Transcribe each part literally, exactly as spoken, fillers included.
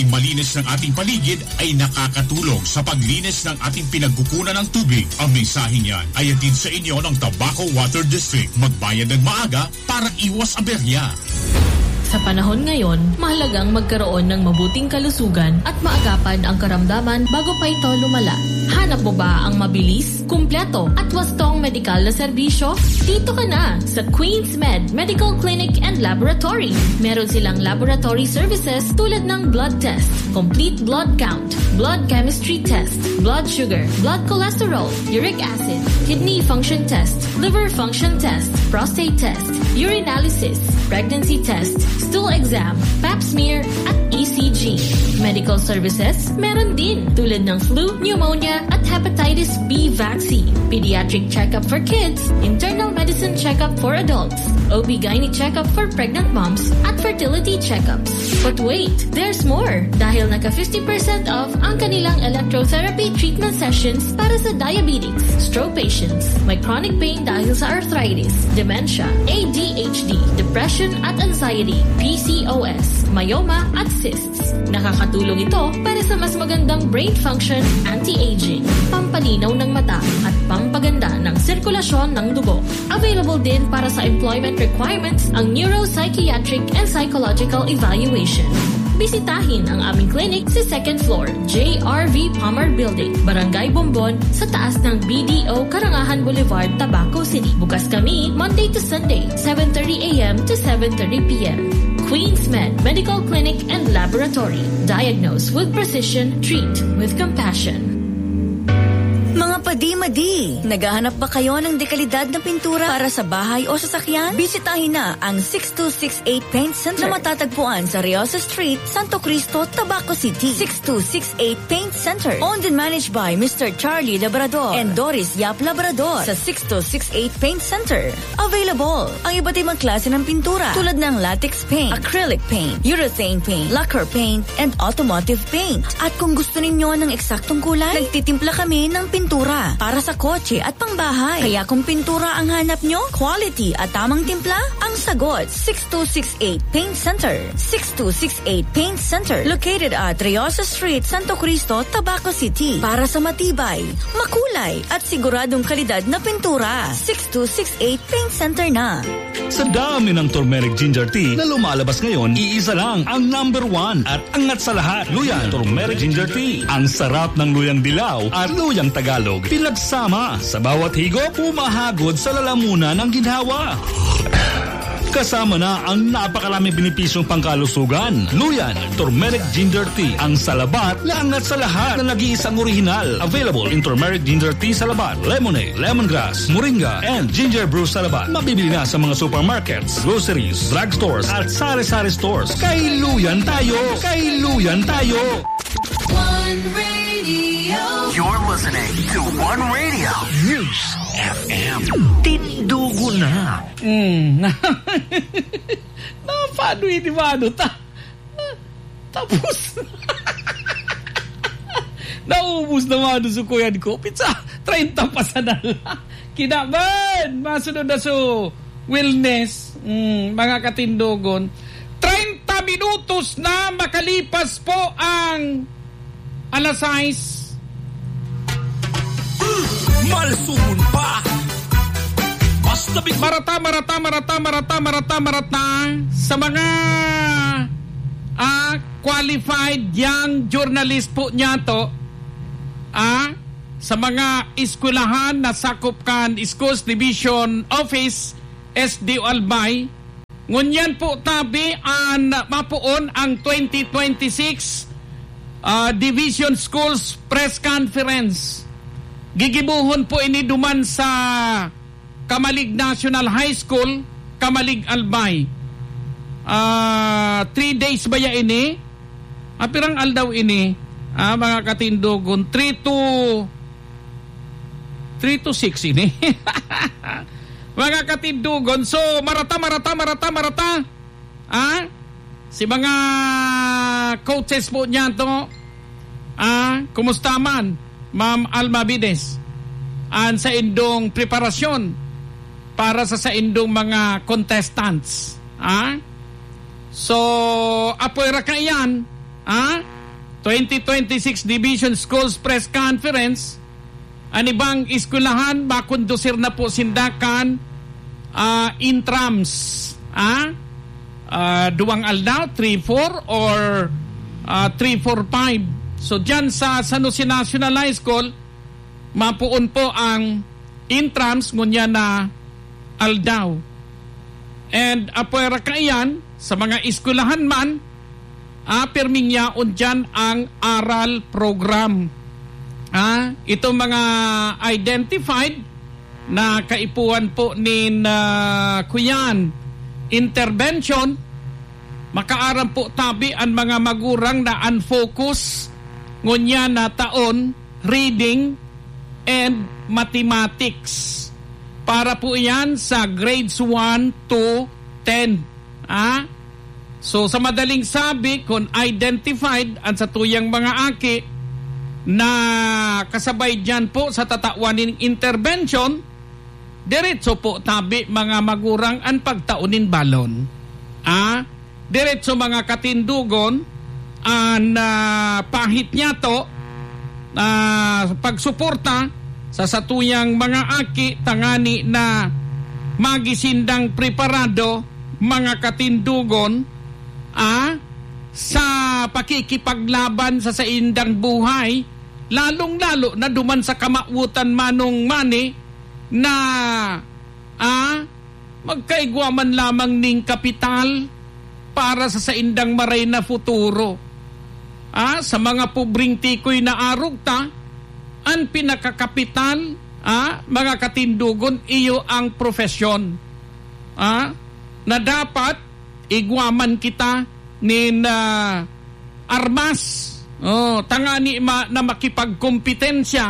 Ang malinis ng ating paligid ay nakakatulong sa paglinis ng ating pinagkukunan ng tubig. Ang mensaheng yan ay hatid sa inyo ng Tabaco Water District. Magbayad ng maaga para iwas aberya. Sa panahon ngayon, mahalagang magkaroon ng mabuting kalusugan at maagapan ang karamdaman bago pa ito lumala. Hanap mo ba ang mabilis, kumpleto at wastong medikal na serbisyo? Dito ka na sa Queens Med Medical Clinic and Laboratory. Meron silang laboratory services tulad ng blood test, complete blood count, blood chemistry test, blood sugar, blood cholesterol, uric acid, kidney function test, liver function test, prostate test, urinalysis, pregnancy test, stool exam, pap smear, at E C G. Medical services, meron din, tulad ng flu, pneumonia, at hepatitis B vaccine. Pediatric checkup for kids, internal medicine checkup for adults, O B gynae checkup for pregnant moms, at fertility checkups. But wait, there's more! Dahil naka fifty percent off ang kanilang electrotherapy treatment sessions para sa diabetics, stroke patients, may chronic pain dahil sa arthritis, dementia, A D H D, depression at anxiety, P C O S, myoma at cysts. Nakakatulong ito para sa mas magandang brain function, anti-aging, pampalinaw ng mata, at pampaganda ng sirkulasyon ng dugo. Available din para sa employment requirements ang neuropsychiatric and psychological evaluation. Bisitahin ang aming clinic sa second floor, J R V Palmer Building, Barangay Bombon, sa taas ng B D O Karangahan Boulevard, Tabaco City. Bukas kami Monday to Sunday, seven thirty a m to seven thirty p m. Queens Med Medical Clinic and Laboratory. Diagnose with precision, treat with compassion. Mga padi-madi, naghahanap ba kayo ng dekalidad na pintura para sa bahay o sasakyan? Bisitahin na ang six two six eight Paint Center na matatagpuan sa Riosa Street, Santo Cristo, Tabaco City. Six two six eight Paint Center, owned and managed by Mister Charlie Labrador and Doris Yap Labrador. Sa six two six eight Paint Center, available ang iba't ibang klase ng pintura, tulad ng latex paint, acrylic paint, urethane paint, lacquer paint, and automotive paint. At kung gusto ninyo ng eksaktong kulay, nagtitimpla kami ng pintura para sa kotse at pangbahay. Kaya kung pintura ang hanap nyo, quality at tamang timpla ang sagot. Six two six eight Paint Center. Six two six eight Paint Center. Located at Riosa Street, Santo Cristo, Tabaco City. Para sa matibay, makulay, at siguradong kalidad na pintura, six two six eight Paint Center na. Sa dami ng turmeric ginger tea na lumalabas ngayon, iisa lang ang number one at angat sa lahat. Luyan Turmeric Ginger Tea. Ang sarap ng luyang dilaw at luyang Tagalog, pinagsama sa bawat higop, humahagod sa lalamunan ng ginhawa. Kasama na ang napakaraming benepisyong pangkalusugan. Luyan Turmeric Ginger Tea, ang salabat na angat sa lahat, na nag-iisang orihinal. Available in turmeric ginger tea salabat, lemonade, lemongrass, moringa, and ginger brew salabat. Mabibili na sa mga supermarkets, groceries, drugstores, at sari-sari stores. Kay Luyan tayo! Kay Luyan tayo! One Radio. You're listening to One Radio. News F M. Tindugo na. Mm. Napanoy ni Mano ta. Tapos, naubos na, Mano, sukuyan ko. Pizza, treinta pa sana. Kinaban! Masunod na su wellness, mm, mga katindogon. Treinta minutos na makalipas po ang alas sais. Malsumon pa. Basta big- Marata, marata, marata, marata, marata, marata sa mga, ah, qualified young journalist po niya to. Ah, sa mga eskwelahan na sakop kan Schools Division Office, S D O Albay, ngunyan po tabi an mapoon ang twenty twenty-six, ah, Division Schools Press Conference. Gigibohon po ini duman sa Camalig National High School, Camalig, Albay. Ah, three days baya ini? Ah, pirang aldaw ini? Ah, mga katindogon, three to, three to six ini. Mga katindogon, so, marata, marata, marata, marata. Ah? Si mga coaches po niyan to. Ah, kumusta man, Ma'am Alma Bides? An saindong preparasyon para sa saindong mga contestants. Ah? So, apoy ra kaiyan, ah, twenty twenty-six Division Schools Press Conference, an ibang eskwelahan, makondusir na po sinda kan, ah, intrams, ah, ah, duwang aldaw, three four or, ah, three four five. So, dyan sa San Jose National High School, mapoon po ang intrams ngunyan na aldaw. And apwera kaiyan, sa mga eskwelahan man, ah, pirming yaon diyan ang aral program. Ah, itong mga identified na kaipuhan po nin, ah, kuyan, intervention, makaaram po tabi an mga magurang na an focus ngunyan na taon, reading and mathematics. Para po iyan sa grades one to ten. Ah? So, sa madaling sabi, kung identified ang satuyang mga aki na kasabay diyan po sa tatawan nin intervention, diretso po tabi, mga magurang, an pagtao nin balon. Ah? Diretso, mga katindogon, an, ah, pahit niyato, ah, pagsuporta sa satuyang mga aki tangani na magi sindang preparado, mga katindogon, ah, sa pakikipaglaban sa saindang buhay, lalong-lalo na duman sa kamawotan manong mani na, ah, magkaigwa man lamang ning kapital para sa saindang maray na futuro. Ah, sa mga pobreng tikoy na arog ta, an pinakakapital, ah, mga katindogon, iyo ang profesyon. Ah, na dapat igwa man kita nin, ah, armas, oh, tangani ma-, na makipagkompetensya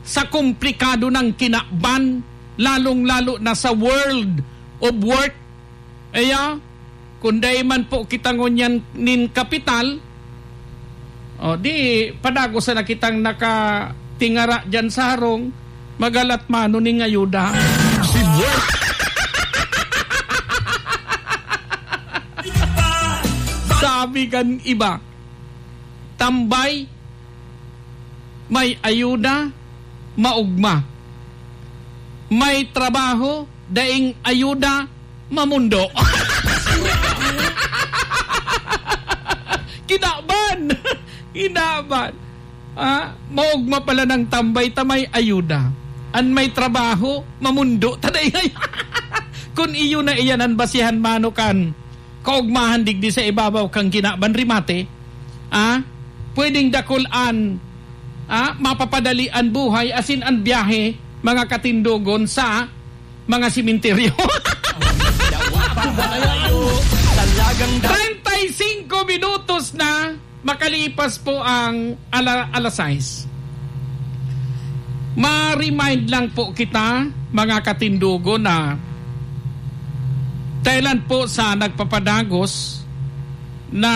sa komplikado ng kinaban, lalong-lalo na sa world of work. Kaya, kung dai man po kita ngunyan nin kapital, oh, di, padagos na kitang nakatingara diyan sa harong, magalat mano ning ayuda. Sabi kan iba, tambay, may ayuda, maogma. May trabaho, daing ayuda, mamundo. Kinaban! Kinaban! Ah, maogma pala ng tambay ta may ayuda. An may trabaho, mamundo ta daing ay-, kun iyo na iyan an basihan mano kan kaogmahan digdi sa ibabaw kan kinaban, rimate, ah, pwedeng dakul an, ah, mapapadali an buhay asin an biyahe, mga katindogon, sa mga simenteryo. Talagang da- Treinta y cinco minutos na makalipas po ang ala-, alas sais. Ma-remind lang po kita, mga katindogon, na kailan po sa nagpapadagos na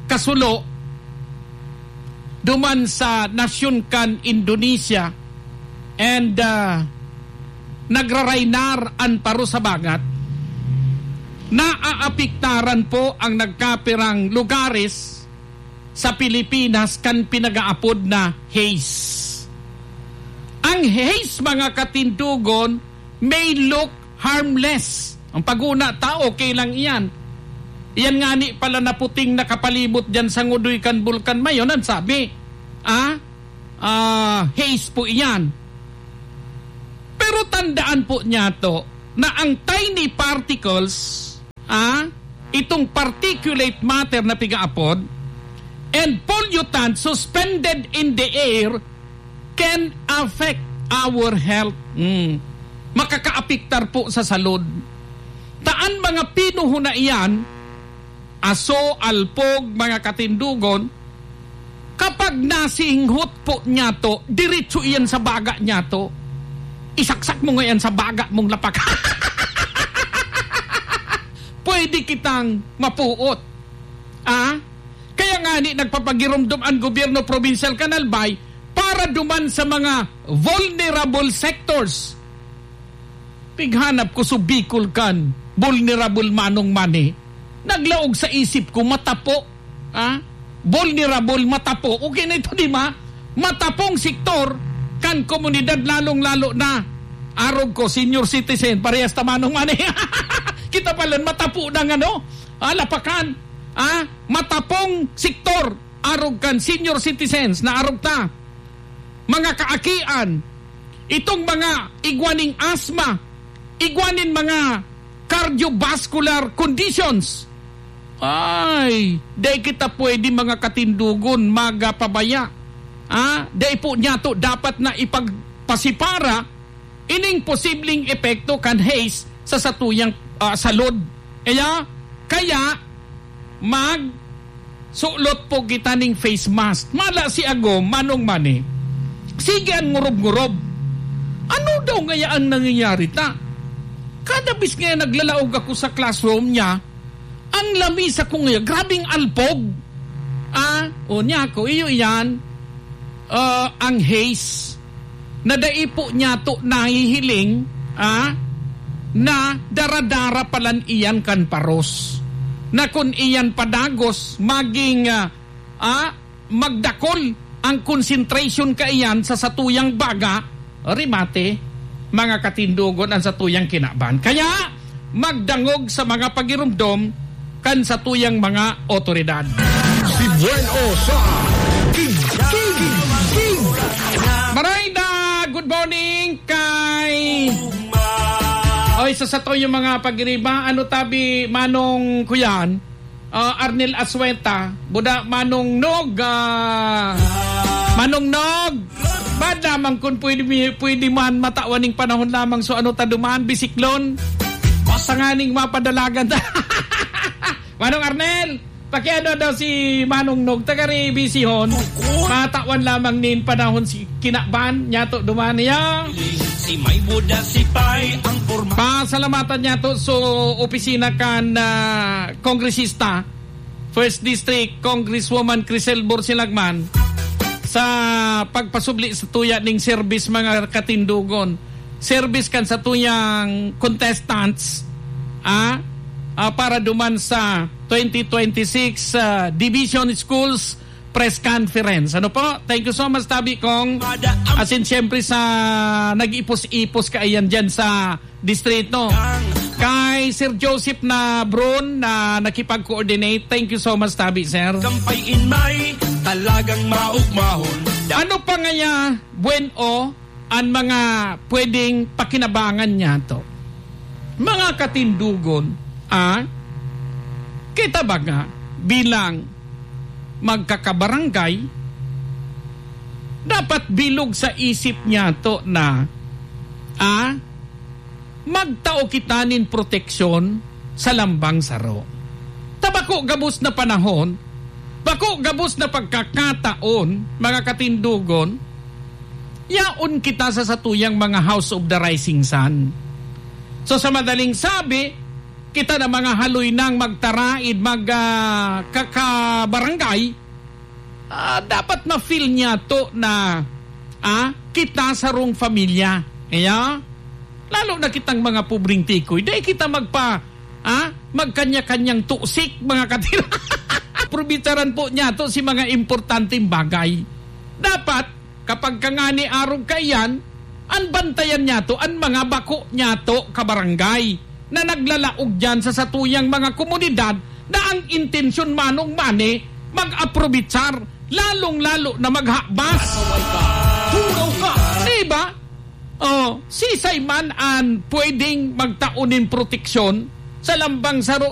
kasulo duman sa nasyon kan Indonesia and, ah, nagraraynar an paro sa bagat, naaapektaran po ang nagkapirang lugares sa Pilipinas kan pinag-aapod na haze. Ang haze, mga katindogon, may look harmless. Ang paguna ta, okay lang iyan. Iyan ngani pala na puting nakapalibot diyan sa ngudoy kan Bulkan Mayon, an sabi, ah, ah, haze po iyan. Pero tandaan po niyato na ang tiny particles, ah, itong particulate matter na pigaapod, and pollutant suspended in the air can affect our health. Mm. Makakaapektar po sa salud. Ta an mga pinuho na iyan, aso, alpog, mga katindogon, kapag nasinghot po niyato, diretso iyan sa baga niyato. Isaksak mo ngayon sa baga mong lapak. Pwede kitang mapuot. Ah? Kaya nga ni nagpapagiromdom ang gobyerno probinsyal kan Albay para duman sa mga vulnerable sectors. Pighanap ko sa Bicol kan vulnerable manong mani. Naglaog sa isip ko, matapo. Ah? vulnerable, matapo. Okay na ito, di ba? Matapong sektor kan komunidad, lalong-lalo na, arog ko, senior citizen, parehas ta manong mani. Kita pala, matapo na nga, no? Ah, lapakan, ah, matapong sektor, arog kan senior citizens na arog ta. Mga kaakian, itong mga igwa ning asma, igwa nin mga cardiovascular conditions. Ay, dai kita pwede, mga katindogon, magapabaya. Ah, dai po niyato dapat na ipagpasipara ining posibleng epekto kan haze sa satuyang, ah, salud. Kaya, kaya, magsulot po kita ning face mask. Mala si Agom, manong mani, sige an ngurob-ngurob. Ano daw ngaya ang nangyayari ta? Kada bis ngaya naglalaog ako sa classroom niya, ang lamisa ko ngaya, grabing alpog. Ah, o niya ako, iyo iyan, ah, ang haze na dai po niyato nahihiling, ah, na dara-dara palan iyan kan paros. Na kun iyan padagos, maging, ah, ah, magdakol ang concentration kaiyan sa satuyang baga, remate, mga katindogon, ang satuyang kinaban. Kaya, magdangog sa mga pagirumdom kan satuyang mga otoridad. Si Bueno sa King, King, King. Marayda, good morning kay... Oy, sa satuyang mga pagiriba, ano tabi, Manong Kuyan? Ah, Arnel Asueta, buda Manong Nog, ah, Manong Nog, bad lamang kun pwede mi-, pwede man matawan ning panahon lamang, so ano ta duman, bisiklon? Tanganing mapadalagan ta. Manong Arnel, pakiano daw si Manong Nog, taga Rebisihon, matawan lamang nin panahon si kinaban, niyato duman niya. Si may buda, si pay, ang porma. Pasalamatan niyato so opisina kan, ah, kongresista, First District, Congresswoman Crisel Borsilagman, sa pagpasubli sa tuya ning serbis, mga katindogon. Serbis kan sa tuyang contestants, ah, ah, para duman sa twenty twenty-six, ah, Division Schools Press Conference. Ano po? Thank you so much, tabi kong. As in, siyempre, sa nag-ipos-ipos kaiyan dyan sa distrito. Kay Sir Joseph na Bron na nakipag-coordinate. Thank you so much, tabi, sir. Kampay in may talagang maugmahon. Ano pa ngaya, Buen O, an mga pwedeng pakinabangan niyato? Mga katindogon, ah, kita baga bilang magkakabarangay, dapat bilog sa isip niyato na, ah, magtao kita nin proteksyon sa lambang saro. Ta bako gabos na panahon, bako gabos na pagkakataon, mga katindogon, yaon kita sa satuyang mga House of the Rising Sun. So, sa madaling sabi, kita na mga haloy nang magtaraid, mag, ah, kakabarangay, ah, dapat ma-feel niyato na, ah, kita sarong pamilya. Kaya, lalo na kitang mga pobreng tikoy, dai kita magpa-, ah, magkanya-kanyang tusik, mga katira. Probitsaran po niyato si mga importanteng bagay. Dapat, kapag ka ngani arog kaiyan, an bantayan niyato an mga bako niyato kabarangay na naglalaog diyan sa satuyang mga komunidad na ang intensyon manong mani mag-aprobitsar, lalong-lalo na maghabas. Turaw ka! Di ba? Oh, sisay man an pwedeng magtao nin proteksyon sa lambang saro